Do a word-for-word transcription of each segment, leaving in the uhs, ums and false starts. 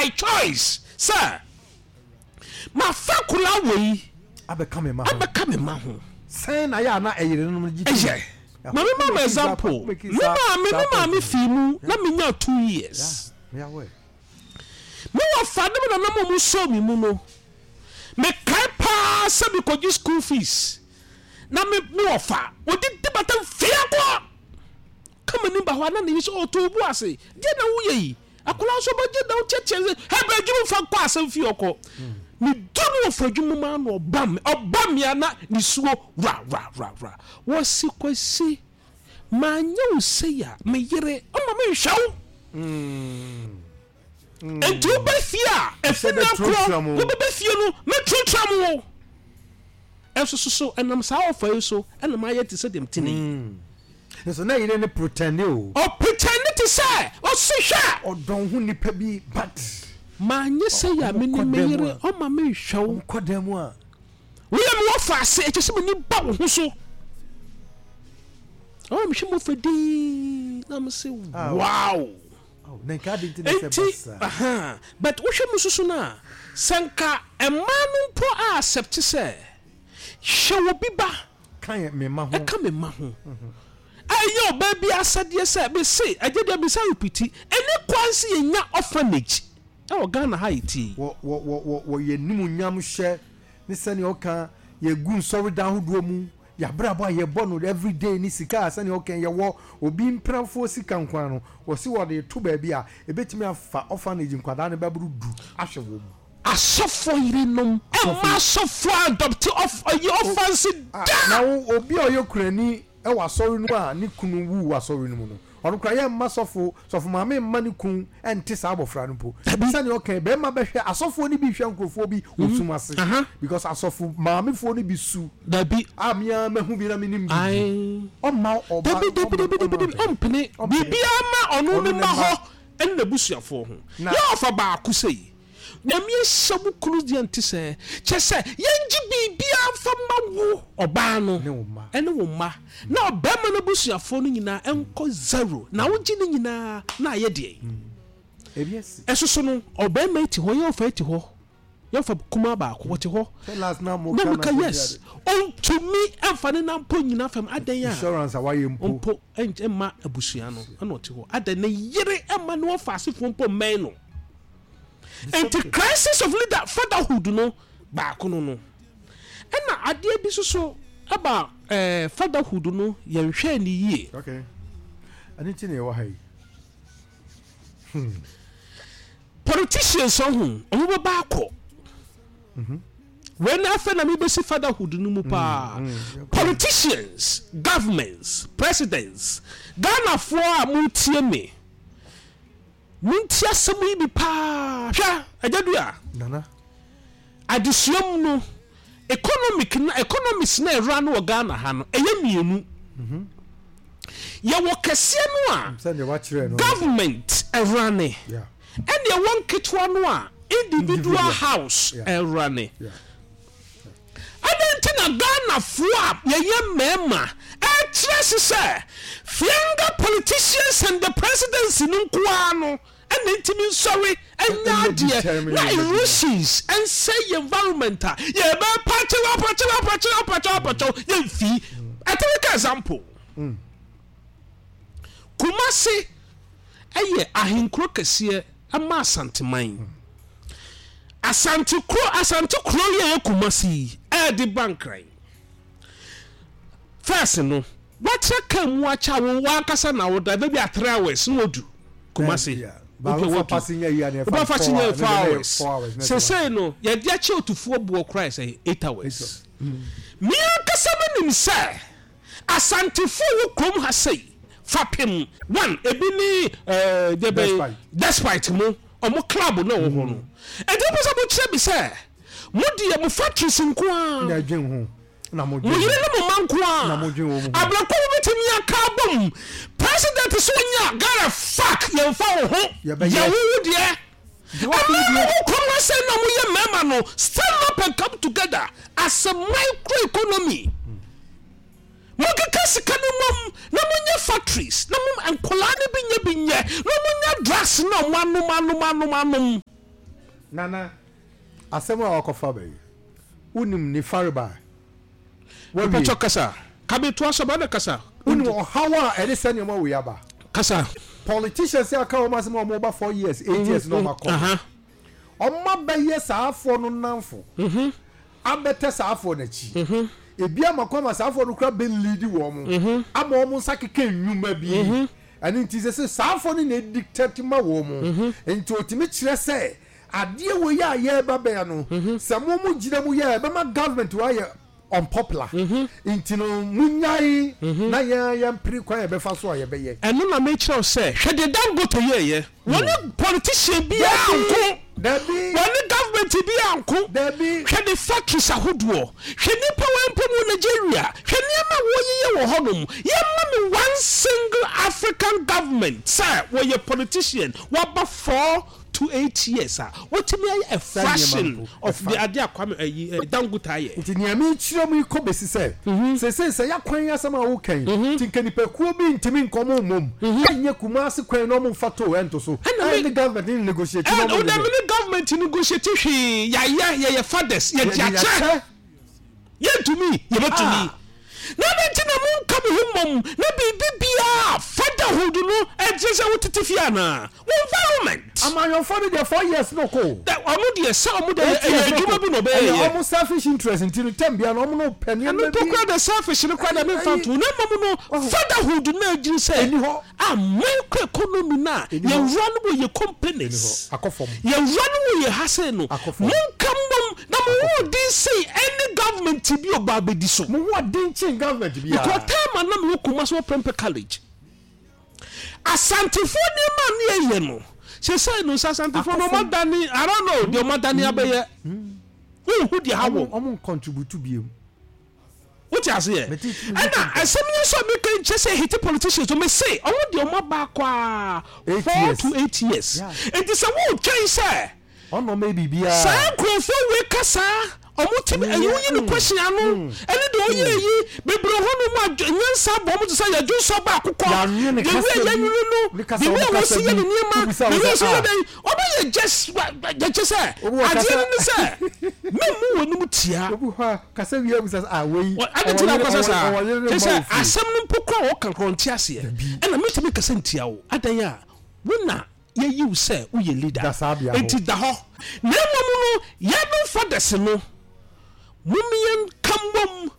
By choice sɛ mafa akwadaa wei abɛka me ma ho. Abɛka me ma ho. Sɛn na yɛ a na ɛyere no gye tom? Ɛyɛ maame ma ma example, me maame me maame fii mu na menya two years. Me aware. Me wɔ fa ne me nanam a ɔmo sɔɔ me mu no, mekae paa sɛ mekɔgye school fees na me me wɔ fa wɔdidi bata mfie kɔ kama ni ba hɔ a, na ne yi sɛ ɔtɔ obu ase deɛ na woyɛ yi, akwadaa nso bɛgye na wotiatia sɛ hɛbɛ adwuma fa kɔ asɛm fie ɔkɔ. Medu no wɔ fa adwuma mu ano, ɔba me ɔba me a na ne suo wura wura wura wura. Wɔsi, "Kwasi, maanyɛ wo sei a, me yere ɔma menhwɛ wo." Nti wobɛ fie a ɛfi na korɔ wobɛbɛ fie no, mɛtuatua mo wo ɛnso so so ɛnam saa ɔfa yi so ɛna mayɛ te sɛ deɛ mte ne yi. Nso na yere ne pretend o. Ɔpretend te sɛ ɔsi hwɛ. Ɔdɔn ho nipa bi, but maanyɛ sɛ yɛ a me ne me yere ɔma menhwɛ wo. Ɔkɔ dan mu a woyɛ me wɔfa ase, ɛkyɛ sɛ m'ani ba wo ho so. Ɔma mehwɛ mo fɛ dii na me se wow. Na nka adi nti na sɛ nti basa. Aha, but wohwɛ mu soso no a, sɛ nka mmaa no mpo a accept sɛ hwɛ wɔ bi ba ka yɛ me ma ho. Ɛka me ma ho a, ɛyɛ ɔbaa bi asɛdeɛ sɛ mese ɛgye deɛ mesa repeat, ɛne kwan sɛ yɛnya orphanage ɛwɔ Ghana ha yɛtie. wɔ wɔ wɔ wɔ wɔ yɛ nimunyam hyɛ ne sɛnea ɔka yɛgu nsɔredan ahodoɔ mu, yɛabrabɔ a yɛbɔ no everyday ne sika a sɛnea ɔka yɛwɔ obi mpenafoɔ sika nkwa no, wɔsi wɔde to baabi a ebetumi afa orphanage nkwadaa no bɛboro du ahwɛ wɔn mu. Asɔfoɔ yerenom ɛma asɔfoɔ adopt ɔyɛ orphans Ah, da. Na wo obi a ɔyɛ kurani ɛwɔ asɔre no a ne kunu wu wɔ asɔre no mu no, ɔno kora yɛ mma sɔfo sɔfo maame mma ne kun ɛnte saa abɔfra no mpo. Dabi. Sɛnea ɔka bɛrima bɛhwɛ, asɔfoɔ no bi hwɛ nkurɔfoɔ bi wɔ sum ase Aha. because asɔfo maamefoɔ no bi su Dabi. a mea mahu bi na menim bi. Ae. Ɔmma ɔba. Dabi dabi dabi dabi dabi, ɔmpene biribiara ma ɔno Ɔno ne ne ma mma. hɔ ɛne n'abusuafoɔ ho. Na- yɛ ɔfa baako sɛ Nyame ahyɛ wo kunu deɛ nte sɛ kyɛ sɛ yɛngye biribiara mfa ma wo ɔbaa no ne wo mma. Ɛne wo mma, na ɔbɛrima no abusuafoɔ no nyinaa ɛnkɔ zero na wogye ne nyinaa na ayɛ deɛ ebi asi. Ɛso so no, ɔbɛrima yi te hɔ, yɛ ɔfa yi te hɔ, yɛfa kumaa baako wɔte hɔ. Sɛ last na mo na ka meka na yes, ɔntumi ɛmfa ne nan mpo nyina fam adan a insurance a wayɛ mpo mpo ɛnkyɛ mma abusua no ɛna ɔte hɔ adan ne yere ɛma ne wɔfa asefoɔ mpo mmɛn no. Nti crisis of leader fatherhood no baako no no ɛna adeɛ bi soso ɛba ɛɛ fatherhood no, yɛnhwɛ ne yie. Okay, ɛno nti na yɛwɔ ha yi. Politicians ɔho ɔmo bɛba akɔ wei na afei na mebɛsi fatherhood no mu paa. Politicians, governments, presidents, Ghanafoɔ a motie me, montie asɛm yi bi paa. Hwɛ, Agya Dua. Nana. Adesua mu no, economic na economics na ɛwura no wɔ Ghana ha no, ɛyɛ mmienu. Yɛwɔ kɛseɛ no a sɛdeɛ wakyerɛ no government ɛwura ne yeah ɛne ɛwɔ nketewa no a individual individual. House Yeah. ɛwura ne. yeah Ɛdɛn nti na Ghanafoɔ a yɛyɛ mmarima ɛkyerɛ se sɛ fianga politicians and the presidency no nkoara no ɛna ntumi nsɔre ɛnya ɛnyɛ adeɛ determine na yɛn adwuma. Erosions ɛnsɛ yɛ environment a yɛbɛ pakyɛw apakyɛw apakyɛw apakyɛw apakyɛw yɛmfi. A typical example, Kumase ɛyɛ ahenkuro kɛseɛ ɛma Asanteman. Asante kuro, Asante kuro yi a ɛyɛ Kumase yi ɛɛde ba Nkran. First no, wakyerɛ kaa mu akyɛ a wo wankasa na wo drive maybe a three hours na wadu Kumase. Yeah. Ba wofa passenger yi a na ɛfa wofa passenger four four hours. Four hours na sesei no yɛde akyɛ otufoɔ boɔ koraa sɛ eight hours. Me ankasa menim sɛ Asantefoɔ wɔ kurom ha sei fapem one ebi ne ɛɛ deɛ bɛn Despite. Despite mo ɔmo club na ɛwɔ hɔ no, ɛdi mo sɛ mo kyerɛ bi sɛ mo deɛ mo factories nko na ara ɛdwen ho na mo mo yere ne mo ma nko Na ara mo dwen wɔn ho. Abrɛkɔ mo bɛtumi aka abom president so nya Ghana fuck yɛmfa wo ho. Yɛbɛyɛ. Yɛ wo wo deɛ Nti wɔn ɛmaa mo deɛ- ho kurom ha sɛ na moyɛ mmarima no, stand up and come together as a micro economy. Monkeka sika no mmom na monyɛ factories na mo nkɔlaa no bi nyɛ bi nyɛ na monyɛ drugs na ɔmo anom anom anom anom. Nana, asɛm a wakɔfa bɛyi, wonim ne fareba? Mepɛkyɛ kasa kabetoa sɛ bɛde kasa. Wonim ɔhaw a ɛde sɛ nneɛma wei aba? Kasa. Politicians aka wɔn asɛm a wɔn ba four years, eight years na wɔn akɔ, wɔn abɛyɛ saa afoɔ no namfo, abɛtɛ saa afoɔ n'akyi, ebi ama kwan ma saa afoɔ no kura bɛ lead wɔn ama wɔn nsa keka nnwuma bi. Ɛno nti sɛ sɛ saa afoɔ no na edictate ma wɔn, nti otumi kyerɛ sɛ adeɛ wɔ yi a yɛreba bɛyɛ no, sɛ mo mo gyina mu yɛ, ɛbɛma government wɔ ayɛ unpopular, nti no munyae na yɛn yɛn pere kwan yɛ bɛfa so a yɛbɛyɛ. Ɛno na mekyerɛw sɛ, hwɛ deɛ Dangote yɛɛyɛ. Wɔne politician biara nko. Dabi. Wɔne government biara nko. Dabi. Hwɛ de factories ahodoɔ, hwɛ nipa wɔ mpo mu Nigeria, hwɛ nneɛma a wɔyeyɛ wɔ hɔnom. Yɛma me one single African government sɛ wɔyɛ politician waba four to eight years a wɔtumi ayɛ a fraction of the adeɛ a Kwame ɛyi ɛ Dangote ayɛ. Nti nea mekyerɛ mu yi kɔ bɛsi sɛ seesei sɛ yɛakwan asɛm a woka yi, nti nka nipakuo bi ntumi nkɔ mo mmom ɛnyɛ Kumase kwan na ɔmo mfa toll ɛnto so, ɛna ɛne government ne negotiate na ɛna ɔmo wodɛ me ne government negotiate hwee. Yɛayɛ, yɛyɛ fathers, yɛde akyɛ. Yɛntumi, yɛbɛtumi. Na adɛn nti na monka mo ho mmom na biribi biaa fatherhood no ɛkyerɛ sɛ wotete fie anaa wo environment? Amanyɔfoɔ no deɛ, four years no kɔ. Dɛ ɔno deɛ sɛ ɔmo deɛ, ɛyɛ adwuma bi na ɔbɛyɛ. Ɛyɛ ɔmo selfish interest, nti no term bia no ɔmo no pɛ ɛno nneɛma mpo bi. Kora de selfish no kora de memfa nto na mmom no, fatherhood no agyiri sɛ ɛni hɔ. A micro economy no a ɛni hɔ. Yɛwura no wɔ yɛ companies, akɔ fam. Yɛwura no wɔ yɛ ha sei no, akɔ fam. Monka mmom na mo ho den sei ɛne government bi ɔba abɛdi so. Mo ho ɔden kyen government because biara. Time a na mewɔ Kumasi wɔ Prempeh College, Asantefoɔ nneɛma a ne yɛyɛ no sɛsɛi no sɛ Asantefoɔ no ɔmadane, I don't know deɛ ɔmadane abɛyɛ, wohu deɛ ha ɔmo wɔ. Ɔmo contribute biem. Wote aseɛ? Mete tumi ɛna asɛm yi nso a meka nkyɛ sɛ hete politicians no, mese ɔmo deɛ ɔmo aba akɔ a eight four years to eight years. Yeah. Nti sɛ wotwɛn sɛ ɔno ɔmo yɛ biribiara saa nkurɔfoɔ wei ka saa ɔmo timi ɛyi woyi no question ano, ɛne deɛ ɔyɛ yi bebree hɔ nom a nyansa bɔ ɔmo te sɛ yɛdwo nsɔ baako kɔ Yɛanwene ne the way kasa bi, yɛnwene no, ne kasa the way ɔmo a kasa wɔsi yɛ bi, ne nneɛma, wobisa the wo way sɛ, ɔsi yɛ ah. dɛn, ɔmo yɛ just yɛkyɛ sɛ Obi wɔ adeɛ kasa no ne sɛ mɛmu wɔ anim tia. Obi hɔ a kasa wie abusa sɛ, ah, wei ade ti na ɔwɔ akɔsɛ yere saa ɔwɔ yere ne kyɛ mma sɛ wɔ fie. Asɛm no mpo kora wɔka korɔ nte aseɛ. Dabi. Ɛna metumi kasa ntia wo adan a wo na yɛyi wo sɛ woyɛ leader. Da saa bea hɔ. Enti da hɔ na mmom no, yɛnom fathers no, mommyɛnka mmom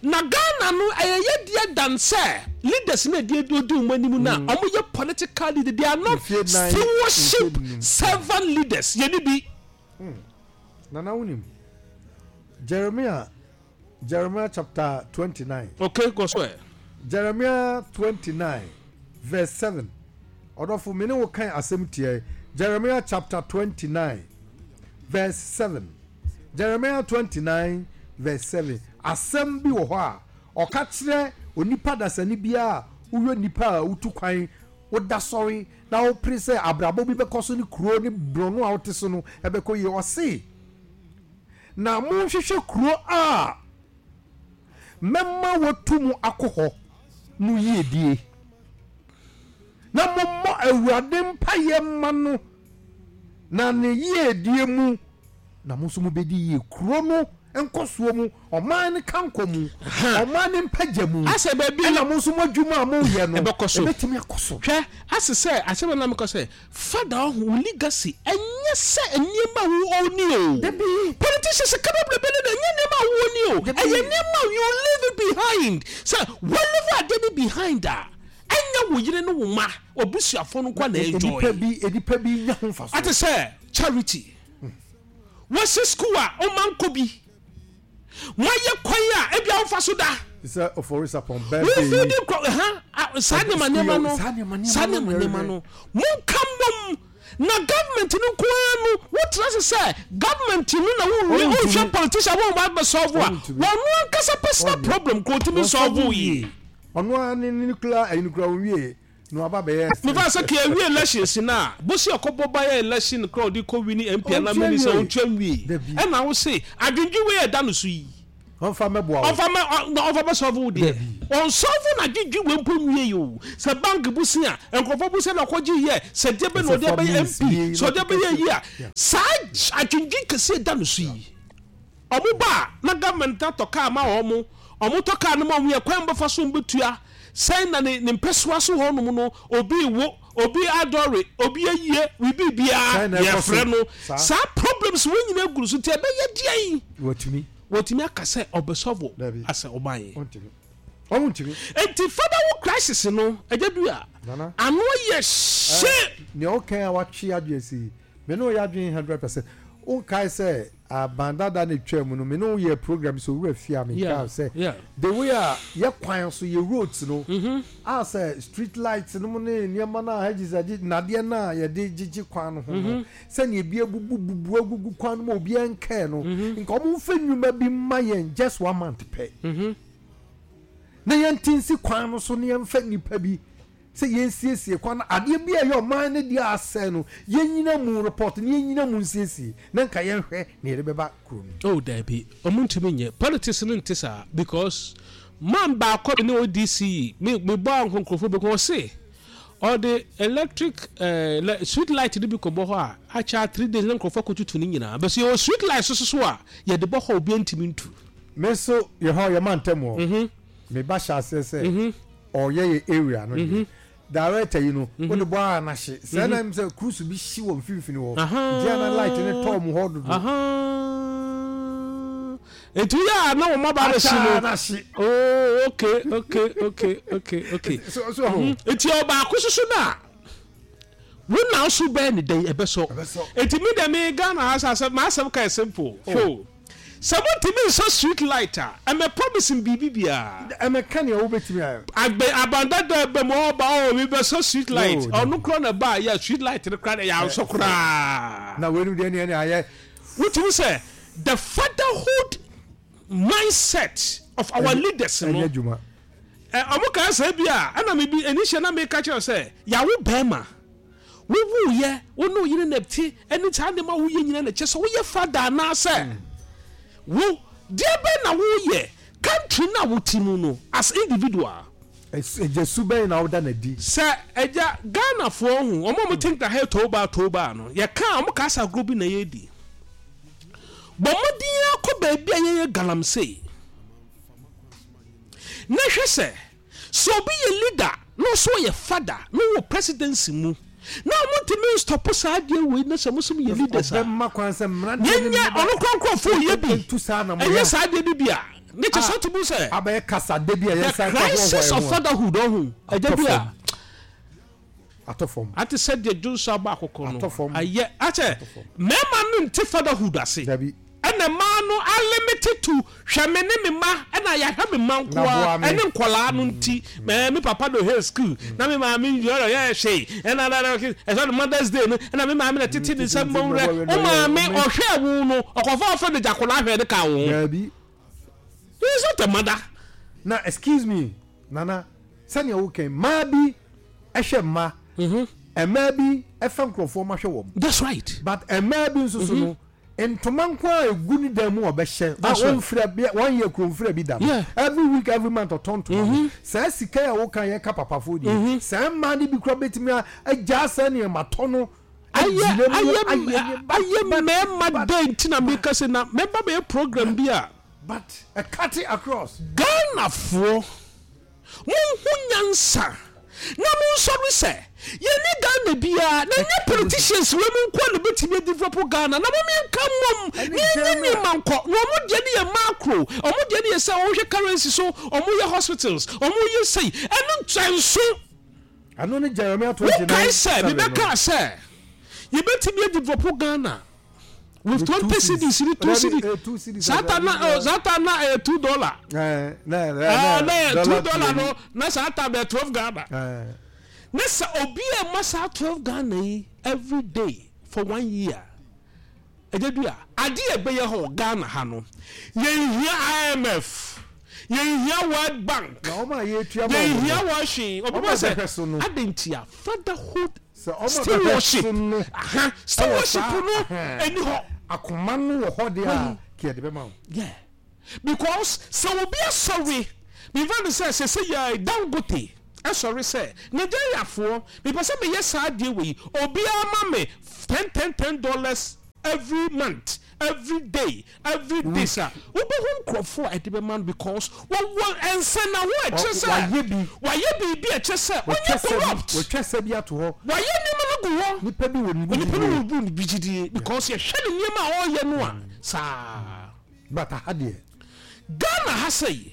na Ghana no ɛyɛ yɛdeɛ dan sɛ leaders no ɛdeɛ odi wɔn anim no a ɔmo yɛ political leader, they are not Mfie nan, stewardship mfie num. Servant leaders yɛni bi. Nana, wonim Jeremiah Jeremiah chapter twenty-nine? Okay, go so ɛ. Jeremiah twenty-nine verse seven. Ɔdɔfo, me ne wo kan asɛm tiɛ. Jeremiah chapter twenty-nine verse seven. Jeremiah twenty-nine verse seven. Asɛm bi wɔ hɔ a ɔka kyerɛ onipa dasani biara a woyɛ nipa a wotu kwan, woda sɔre na wopere sɛ abrabɔ bi bɛkɔ so ne kuro ne borɔno a wote so no ɛbɛkɔ yie. Ɔse, na monhwehwɛ kuro a mɛma watu mu akɔ hɔ no yiedie, na mommɔ Awurade mpayɛ ma no, na ne yiedie mu na mo nso mobɛdi yie. Kuro no nkɔsoɔ mu, ɔman no kankɔ mu, ɔman no mpagya mu, asɛ baabi ɛna mo nso mo adwuma a moyɛ no ɛbɛkɔ so. Ɛbɛtumi akɔ so. Hwɛ, ase sɛ asɛm na mekɔ sɛ fada ɔho wo legacy ɛnyɛ sɛ nneɛma a wo oni o. Dabi. Politicians ka bebrebe no de, ɛnyɛ nneɛma a wo oni o. Dabi. Ɛyɛ nneɛma a you leave it behind, sɛ wo leave adeɛ no behind a, ɛnyɛ wo yere ne wo ma wabusuafoɔ no nkwa na nipa enjoy. Bi nipa bi nya ho mfa so. Ate sɛ charity wɔsi school a ɔma nkɔ bi, wɔayɛ kwan a ebi a wofa so da. Te sɛ Ofori Sarpong birthday wofi yi. di nkɔ ha a, saa nneɛma nneɛma no, saa nneɛma nneɛma saa no nneɛma na nneɛma ɛrehwɛ. no, monka mmom na government no nko ara no wotena se sɛ government no na wowie. Ɔntumi. Wohwɛ politician wɔn ba bɛ solve a, Ɔntumi. wɔn ankasa personal Ɔnyɛ. problem ko otumi solve yie. Ɔno ara ne ne nuclear ɛyi nuclear onwie na waba bɛyɛ. Mefa sɛ kɛ awie elections no a, bosi ɔkɔbɔ ba yɛ election kora ɔde kɔ win M P ana Ɔntua minister nwie. ɔntua nwie. Dabi. Ɛna wo se adwendwe wei a ɛda no so yi. Ɔmfa mɛboa wo. Ɔmfa mɛ ɔ na ɔmfa bɛ solve wo deɛ. Ɔnsolve na dwedwe wei mpo nwie yi o. Sɛ bank bosia, nkurɔfoɔ bosia na ɔkɔgye yɛ, sɛ deɛ bɛ na ɔde bɛyɛ M P, sɛ ɔde bɛyɛ yi a, saa adwendwen kɛseɛ da no so yi. Ɔmo ba a, na government atɔ kaa ma wɔn, ɔmo tɔ kaa no ma wɔn yɛ kwan bɛfa so mbɛtua. Sɛn na ne ne mpɛsoa so hɔnom no, obi wo, obi adɔre, obi ayie, bibi biara Sɛn na ɛkɔ so? Yɛfrɛ no. Saa. Saa problems wɔn nyinaa gu no so nti ɛbɛyɛ deɛn? Wɔtumi. Wɔtumi aka sɛ ɔbɛsolve Dabi. asɛ ɔman yi. Ɔntumi, ɔmo ntumi. Nti fatherhood crisis no, ɛgya du a Nana. ano yɛ hye. Nea ɔkan a watwe adwene si yi, me ne wo yɛ adwene hundred percent. Wonkae sɛ aban dada ne twaa mu no, me ne wo yɛ program sɛ owura fie a Yeah, menkaa sɛ yeah. the way a yɛ kwan so, yɛ roads no a, sɛ street light no mu ne nneɛma no a hedges agye nnadeɛ no a yɛde gyegye kwan no ho no, sɛnea ebi abubu bubu agugu kwan no mu a obiara nkɛɛ no, nka ɔmo mfa nnwuma bi mma yɛn just one month pɛ na yɛnte nsi kwan no so na yɛmfa nnipa bi sɛ yɛnsiesie kwan no. Adeɛ bi a ɛyɛ ɔman no deɛ asɛe no, yɛnyina mu report na yɛnyina mu nsiesie na nka yɛnhwɛ na yɛde bɛba kurom. Oh dabi, ɔmo ntumi nyɛ politics no nte saa, because man baako bi ne O D C yi, me me bɔ nkurɔfoɔ bi kɔn ɔse ɔde electric ɛɛ uh, street light no bi kɔ bɔ hɔ a, akyɛ three days na nkurɔfoɔ akɔtutu ne nyinaa bɛsɛ yɛwɔ street light soso so a yɛde bɔ hɔ, obi ntumi ntu. Me nso yɛ hɔ yɛ ma ntɛm hɔ, me ba hyɛ aseɛ sɛ ɔyɛ yɛ area no deɛ, director yi no wode bɔ a n'ahye sɛ na sɛ cruise bi hyi wɔ mfimfini hɔ nti ana light ne tɔɔ mu hɔ dodo. Nti yɛ a na wɔn aba abɛsi akyɛ no n'ahye. Oh, okay okay okay okay okay so so ho. Nti ɔbaako soso na wo na so bɛɛ ne dɛn ɛbɛsɔ. Ɛbɛsɔ. Nti mi dɛ mi Ghana ha sɛ asɛm m'asɛm ka yɛ simple oh. Sɛ motumi nsɔ street light a, ɛmɛ promise biribi biara. Ɛmɛka nea wobɛtumi ayɛ. Agbe abandada bɛ mu ɔba ɔ mi bɛ sɔ street light. No, ɔno kora na ba yɛ street light no kora de yɛ ansɔ koraa. Na wei no deɛ neɛ ne ayɛ. Wotumi sɛ the fatherhood mindset of our Ɛnyɛ- leaders no ɛnyɛ adwuma. Ɛ ɔmo kaa sɛ bi a ɛna mi bi enihyɛ na mi ka kyerɛ sɛ yawo bɛrima wowu yɛ wo ne oyere na ti ɛne saa nneɛma woyɛ nyina na kyɛ sɛ woyɛ father anaasɛ wo deɛ bɛ na woyɛ country na wote mu no as individual. Ɛgya su bɛn na woda n'adi? Sɛ ɛgya Ghanafoɔ ho ɔmo a ɔmo think na ha toba toba no, yɛka a ɔmo ka asa agorɔ bi na yɛdi bɔ mmɔden akɔ baabi a yɛyɛ galamsey na hwɛ sɛ sɛ obi yɛ leader na ɔso ɔyɛ father na ɔwɔ presidency mu na ɔmo ntumi nstop saa adeɛ wei na sɛ mo nso yɛ leaders a ɔbɛma kwan sɛ mmeranteɛ ne yɛnyɛ ɔno kora nkurɔfoɔ yɛ bi ntu saa na ɛnyɛ saa adeɛ no bi a ne kyɛ sɛ ɔtumi sɛ abɛyɛ kasade bi a the yɛsan crisis of fatherhood ɔho ɛgya bi a atɔ fam. Ate sɛ deɛ dwonso abɔ akokɔ no Atɔ fam. Ayɛ akyɛ mmarima no nte fatherhood ase. Dabi. Ɛna mmaa no unlimited to hwɛ me ne me ma ɛna yɛahwɛ me mma Na boa nkoa me. ɛne nkɔlaa no nti mɛɛ me papa do hair school na me maame yɔrɔ yɛ hwee ɛna ɛna ɛsɛ no Mother's Day no ɛna me maame na tete ne nsa mbɔ wurɛ wo maame ɔhwɛ wo no ɔkɔfa ɔfɛ de gyakola ahwɛ ne ka wo ho. Dabi. He is not a mother. Na excuse me, Nana, sɛnea wokan mmaa bi ɛhwɛ mma, mmaa bi ɛfa nkurɔfoɔ ma hwɛ wɔn. That's right. But mmaa bi nso so no, ntoma nko a egu ne dan mu a ɔbɛhyɛ a That's right. wɔnfira bi wɔnyɛ kuromfira bi da no, Yeah. every week, every month ɔtɔn ntoma no. Saa sika a woka yɛ ka papafoɔ deɛ, saa mmaa no bi kura bɛtumi a agyaa saa nneɛma tɔ no ayɛ agyina mu ayɛ ayɛ ayɛ mmarima dɛ nti na meka sɛ na mɛba bɛyɛ program bi a but a cut it across. Ghanafoɔ, monhu nyansa na monsɔre sɛ yɛne Ghana biara na nyɛ politicians wei mu nkoa na bɛtumi adevelop Ghana na momiɛnka mmom Ɛne na yɛnyɛ general. nneɛma nkɔ na ɔmo deɛ ne yɛ macro, ɔmo deɛ ne yɛ sɛ ɔmohwɛ currency so, ɔmo yɛ hospitals, ɔmo yɛ sei, ɛno nkyɛnso. Ɛno ne Jeremiah twenty nine Wokae sɛ mebɛkaa sɛ yɛbɛtumi adevelop Ghana with With twenty two cedis ne two Dabi, cedis. eh, two cedis. Saa ta na oh, saa ta na ɛyɛ two dollar. Eh, na Ah, na yɛ two dollar mmienu. No na saa ta bɛ twelve Ghana. Eh, ne sɛ obi a ɛma saa twelve Ghana yi every day for one year, ɛgya dua adeɛ a ɛbɛyɛ hɔ Ghana ha no, yɛnhia I M F, yɛnhia World Bank. Na ɔmo a yɛtua ma ɔmo Yɛnhia no, wɔhwee obi ɔmo bɔ a sɛ bɛhwɛ so no. adentia fatherhood sɛ ɔmo a bɛhwɛ stewardship so no aha stewardship saa- no ɛhɛn. ɛni hɔ. Akoma no wɔ hɔ deɛ a kí yɛde bɛma wo. Yeah, Because sɛ obi asɔre, mefa no sɛ sɛ sɛ yɛ Dangote ɛsɔre sɛ Nigeriafoɔ, mepɛ sɛ meyɛ saa adeɛ wei, obiara ma me ten ten ten dollars every month, every day, every day sa wobɛhu nkurɔfoɔ a ɛde bɛma no, because wɔwɔ nsɛnnaho a ɛkyerɛ sɛ wayɛ bi. Wayɛ biribi a ɛkyerɛ sɛ ɔnyɛ corrupt. Wɔtwa sɛ bi ato hɔ. Wayɛ nneɛma no gu hɔ. Nipa bi wɔ ne onipa no wɔ bu ne bi gyidie, because yɛhwɛ ne nneɛma a ɔreyɛ no a saa. But aha deɛ, Ghana ha sɛ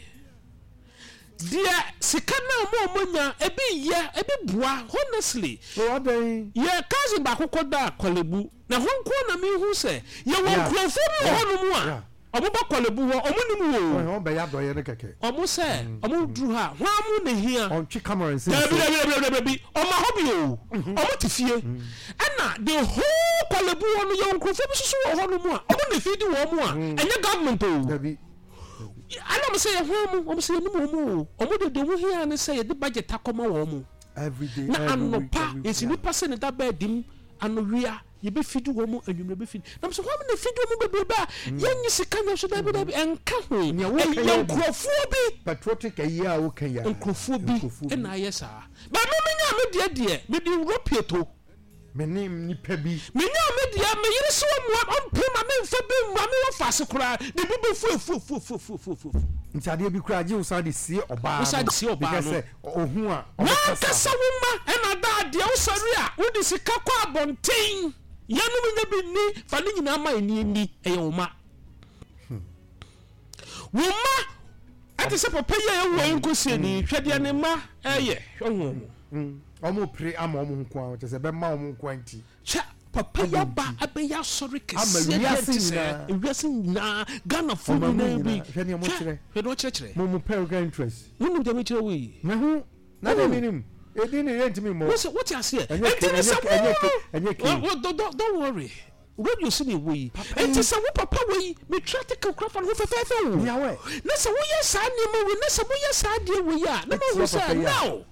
deɛ, sika no a ɔmo a ɔmo nya ebi yɛ ebi boa, honestly. So adan? Yɛ cousin baako kɔ da Korle Bu na hɔ nko na mi hu sɛ yɛwɔ Yeah. nkurɔfoɔ bi wɔ hɔnom a ɔmo ba Korle Bu hɔ, ɔmo nim wo. Ɔn bɛyɛ adɔyɛ no kɛkɛ. Ɔmo sɛ ɔmo duru ha, hɔn mu na hia. Ɔntwe camera nsi. Dabi, dabi, dabi, dabi, dabi, ɔmo ahɔ bi o, ɔmo te fie, ɛna the whole Korle Bu hɔ no, yɛwɔ nkurɔfoɔ bi soso wɔ hɔnom a ɔmo na fi di wɔn mu a ɛnyɛ government o. Dabi. Ɛna ɔmo sɛ yɛ hɔn mu, ɔmo sɛ yɛnim wɔn mu o, ɔmo de deɛ ɔmo hia ne sɛ yɛde budget akɔma wɔn mu. Every day. Na every week, anɔpa every yɛsi nipa sɛ ne da bɛɛ dim, anowia yɛbɛfidi wɔn mu, anwummerɛ bɛfidi na mo sɛ wɔn na fidi wɔn mu bebrebe a yɛnyi sika nyɛ so. Dabi, dabi, ɛnka ho. Nea woka ɛyɛ yɛ bi. Nkurɔfoɔ bi. Patriotic ayi a woka yi a. Nkurɔfoɔ bi. Nkurɔfoɔ bi. Ɛna ayɛ saa bɛn mi nya mi deɛ deɛ mi de wuro pieto. Me ne nipa bi. Mi nya mi deɛ, mi yere sɛ wɔn mu ɔmpɛ ma mi nfa bi ma mi wɔ faase koraa de bi bɛ fu efu efu efu efu efu efu. Nti adeɛ bi koraa gye wo san de sie ɔbaa. Wo san de sie ɔbaa because no. Sɛ ohun a ɔbɛkasa. Wankasa wo ma ɛna da adeɛ wosɔre a wode sika kɔ abɔnten, yɛnom nya bi nni, fa ne nyinaa ma ɛni ni. Ɛyɛ wo ma, wo ma ɛte sɛ papa yi a ɛwɔ yi nkɔsiani, hwɛ deɛ ne ma ɛyɛ, hwɛ ho. Mm. Ɔmo pere ama ɔmo nko a, kyerɛ sɛ ɛbɛma ɔmo nko a nti. Hwɛ papa yi aba abɛyɛ asɔre Ama kɛseɛ deɛ wiase nte sɛ nyinaa. ewiase nyinaa, Ghanafoɔ Ɔma mu nyinaa bi. nyinaa. Hwɛ nea mo kyerɛ. Hwɛ deɛ ɔkyerɛkyerɛ. Mo mo pɛ interest. Wonim deɛ mekyerɛ wo yi? Mehu na de mi nim edi ne yɛ ntumi mmɔ. Wo sɛ wote aseɛ? Ɛnyɛ Ɛnti ke- ne sɛ ɛnyɛ ke- ɛnyɛ ke- ɛnyɛ ke. wo wo- don't don't- don't worry, radio si na ɛwɔ yi. Ɛnti sɛ wo papa wɔ yi, metua te kakra fa ne ho fɛfɛɛfɛ o. Miawɛ. Na sɛ woyɛ saa nneɛma wei, na sɛ woyɛ saa adeɛ wei a, na mahu Ɛtia sɛ papa yi a. now